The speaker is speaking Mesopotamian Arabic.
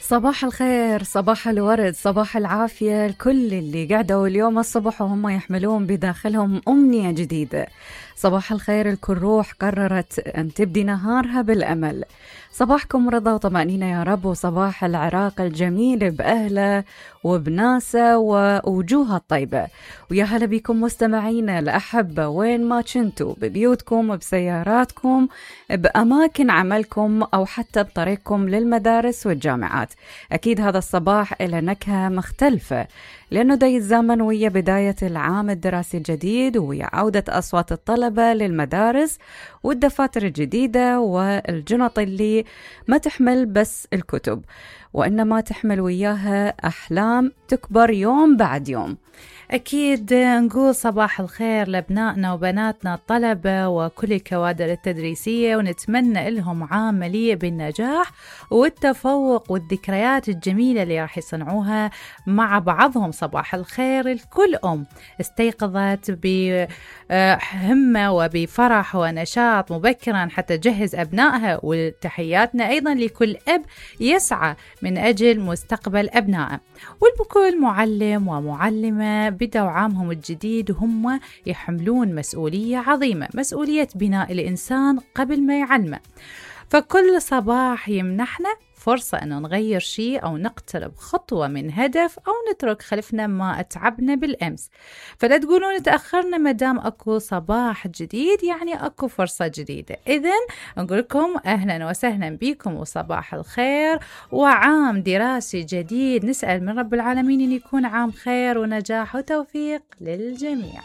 صباح الخير، صباح الورد، صباح العافية لكل اللي قعدوا اليوم الصبح وهم يحملون بداخلهم أمنية جديدة. صباح الخير لكل روح قررت أن تبدي نهارها بالأمل. صباحكم رضا وطمأنينة يا رب، وصباح العراق الجميل بأهله وبناسه ووجوهه الطيبة. ويا هلا بكم مستمعينا الأحبة وين ما كنتوا، ببيوتكم، بسياراتكم، بأماكن عملكم، أو حتى بطريقكم للمدارس والجامعات. أكيد هذا الصباح إلى نكهة مختلفة، لأنه دا يتزامن ويا بداية العام الدراسي الجديد، ويا عودة أصوات الطلبة للمدارس والدفاتر الجديدة والجنط اللي ما تحمل بس الكتب، وإنما تحمل وياها أحلام تكبر يوم بعد يوم. أكيد نقول صباح الخير لأبنائنا وبناتنا الطلبة وكل الكوادر التدريسية، ونتمنى لهم عام مليء بالنجاح والتفوق والذكريات الجميلة اللي راح يصنعوها مع بعضهم. صباح الخير لكل أم استيقظت بهمة وبفرح ونشاط مبكرا حتى تجهز أبنائها، وتحياتنا أيضا لكل أب يسعى من أجل مستقبل أبنائه، ولكل معلم ومعلمة بدأوا عامهم الجديد وهم يحملون مسؤولية عظيمة، مسؤولية بناء الإنسان قبل ما يعلمه. فكل صباح يمنحنا فرصة أن نغير شيء أو نقترب خطوة من هدف، أو نترك خلفنا ما أتعبنا بالأمس. فلا تقولون تأخرنا، مدام أكو صباح جديد يعني أكو فرصة جديدة. إذن نقول لكم أهلا وسهلا بكم وصباح الخير، وعام دراسي جديد نسأل من رب العالمين أن يكون عام خير ونجاح وتوفيق للجميع.